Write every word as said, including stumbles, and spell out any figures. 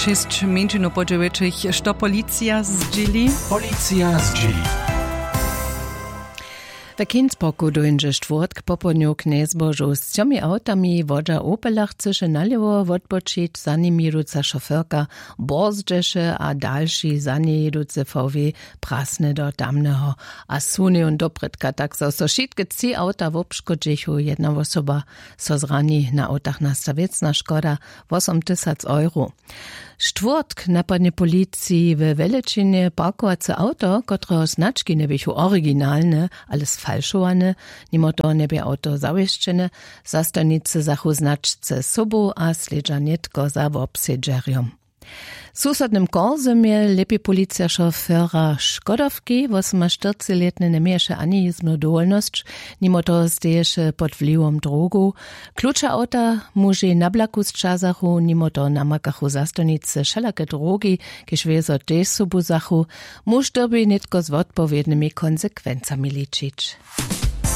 Šěsć mjeńšinow po dźewjećich. Što policija zdźěli? Policija zdźěli. We kinsborku dóńdźe štwórtk popołdnju k njezbožu z třomi awtami wodźa opela chcyše nalěwo wotbočić za nimi jěduca šoferka, borzdźeše a dalši za njej jěducy fałwej prasny do tamneho. A sunejon doprědka tak zo so wšitke tři awta wobškodźichu jedna wosoba so zrani na awtach nasta wěcna škoda, wosom tysac euro. Štwórtk napadnje policiji we wjelećinje parkowace awto kotreho znački njeběchu originalne, ale sfalšowane. Nimo toho njebě awto zawěsćene. Zastojnicy zachu značce sobu a slědźa nětko za wobsedźerjom. W susodnym korzymje lěpi policija šofera škodowki wosomaštyrcilětny njeměješe ani jězbnu dowolnosć. Nimo toho steješe pod wliwom drogow. Kluče awta mužej na blaku sćazachu. Nimo toho namakachu zastojnicy wšelake drogi, kiž wězo tež sobu zachu. Muž dyrbi nětko z wotpowědnymi konsekwencami ličić.